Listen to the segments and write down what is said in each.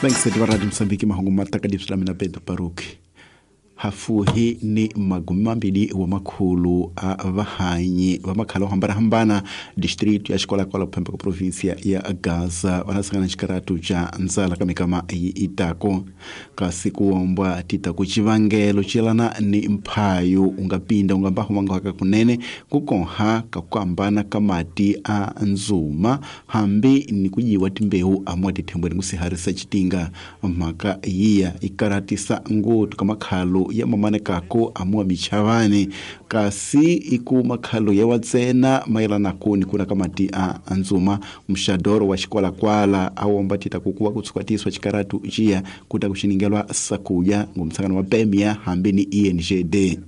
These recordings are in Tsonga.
Vaingiseti va Radio Mosambiki, mahungu ma taka leswi la mina Pedro Baruki. Hafuhi ni 200 a vahanyi va makhala yo hambanahambana district ya Xikwalakwala kuphemba ka provinsia ya Gaza va nasangana xikaratu xa ndzala ka mikama yi itako. Kasi kuombwa tita ku xivangelo xiyelana ni mphayo u nga pinda u nga mbahu mangaka kunene ku konha ka ku hambana ka mati a ndzuma hambi ni ku yiwa timbewu amuwa tithembweni ku siharisa xitinga. Mhaka yiya yi karatisa ngopfu ka makhalo ya mamanekako amuwa michavani, kasi i ku makhalo ya wa ntsena mayelanaku ni kuna ka mati a ndzuma. Muxadoro wa Xikwalakwala a womba tita ku kuva ku tshukatiswa xikaratu xiya ku ta ku xiningelwa sakuya ngomsangano wa PEMIA hambi ni ENGD.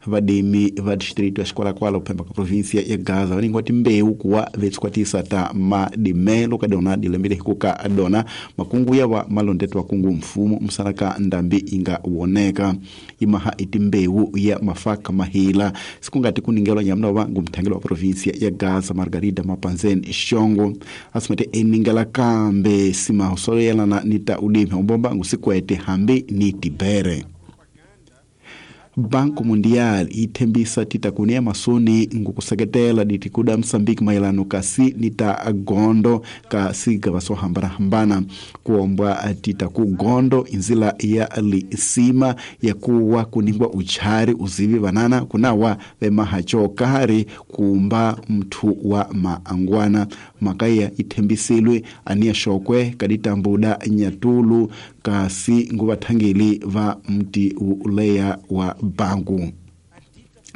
Vadimi va district ya Xikwalakwala kuphemba ka provinsia ya Gaza va ningiwa timbewu kuwa vetshukwatisa ta madimelo ka dona dilembele hikuka dona makungu ya va malondeto wa kungu mfumo musana ka ndambi yi nga woneka imaha i timbewu ya mafaka mahila sikungati kuningelwa nyamuna wa ngumthangelo wa provinsia ya Gaza Margarida Mapanzen Xongo asimete eningela kambe simaho solo yelana ni ta ulimi umbomba ngusikwete hambi ni tibere. Banco Mundial yi thembisa tita kunia masoni ngukuseketela ditikuda Msambiki mayelano kasi ni ta gondo ka sigava swo hambanahambana. Kuombwa tita ku gondo inzila ya lisima ya kuwa kuningwa uchari uzivi vanana kunawa vemahacho kari kumba mthu wa maangwana. Makaya ithembisilwe ania shokwe kaditambuda nyatulu kasi nguvathangeli va mti uleya wa bangu.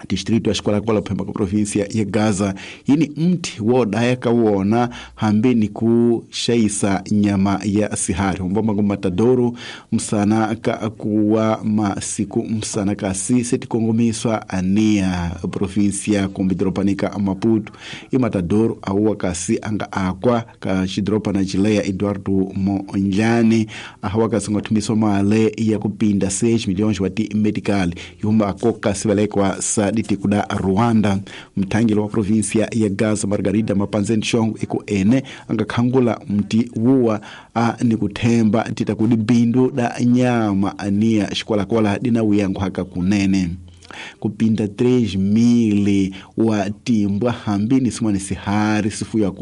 Distrito ya Xikwalakwala kuphemba ka provinsia ya Gaza yini mti wo daya ka wona hambi ni ku xayisa nyama ya sihari umbomba ngu matadoro msana ka kuwa masiku msana kasi setikongomiswa ania provinsia kumbe doropanika Maputo. I matadoro awuwa kasi anga akwa ka xidorobana xileya Eduardo Mondlane ahawa kasi nga thumiswa male ya kupinda 6 milhões wa ti medical yuma ako kasi valekwa sa ditikuda Rwanda. Mthangelo wa provinsia ya Gaza Margarida Mapanzen Xongo iku ene anga khangula mti wuwa a ni kuthemba tita kudi bindu da nyama ania Xikwalakwala dina wuyangu haka kunene. Kupinda 3,000 wa timbwa hambi ni simwani sihari sifuya ku